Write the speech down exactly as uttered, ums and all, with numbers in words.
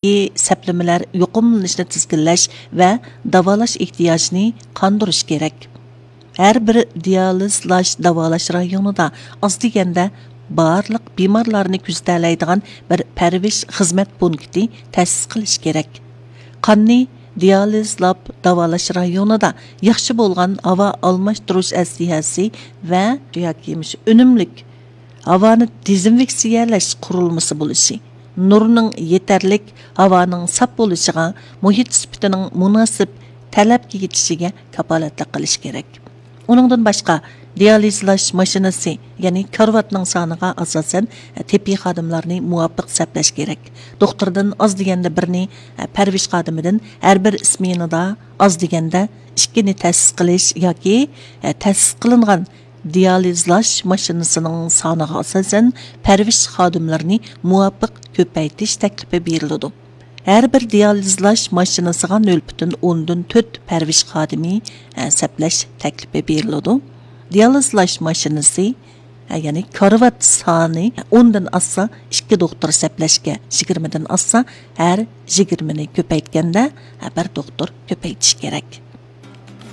سەپلىمىلەر يۇقۇملىنىشنى تىزگىنلەش ۋە داۋالاش ئېھتىياجىنى قاندۇرۇش كېرەك. ھەر بىر دىيالىزلاش داۋالاش رايونىدا ئاز دېگەندە بارلىق بىمارلارنى كۆزىتەلەيدىغان بىر پەرۋىش خىزمەت پونكىتى تەسىس قىلىش كېرەك. قاننى دىيالىزلاپ داۋالاش رايونىدا ياخشى بولغان ھاۋا ئالماشتۇرۇش ئەسلىھەسى ۋە ياكى مۇشۇ ئۈنۈملۈك ھاۋانى دېزىنفېكسىيەلەش قۇرۇلمىسى بولۇشى، نۇرنىڭ يېتەرلىك، ھاۋانىڭ ساپ بولۇشىغا، مۇھىت سۈپىتىنىڭ مۇناسىپ تەلەپكە يېتىشىگە كاپالەتلىك قىلىش كېرەك. ئۇنىڭدىن باشقا، دىيالىزلاش ماشىنىسى، يەنى كارىۋاتنىڭ سانىغا ئاساسەن، تېببىي خادىملارنى مۇۋاپىق سەپلەش كېرەك. دوختۇردىن ئاز دېگەندە بىرنى، پەرۋىش خادىمىدىن ھەر بىر سمېنىدا ئاز دېگەندە ئىككىنى تەسىس قىلىش ياكى تەسىس قىلىنغان دىيالىزلاش ماشىنىسىنىڭ سانىغا ئاساسەن پەرۋىش خادىملىرىنى مۇۋاپىق كۆپەيتىش تەكلىپى بېرىلىدۇ. ھەر بىر دىيالىزلاش ماشىنىسىغا نۆل پۈتۈن ئوندىن تۆت پەرۋىش خادىمى، ئە، سەپلەش تەكلىپى بېرىلىدۇ. دىيالىزلاش ماشىنىسى، ئە، يەنى كارىۋات سانى ئوندىن ئاشسا، ئىككى دوختۇر سەپلەشكە، يىگىرمىدىن ئاشسا، ھەر يىگىرمىنى كۆپەيتكەندە، ئە، بىر دوختۇر كۆپەيتىش كېرەك.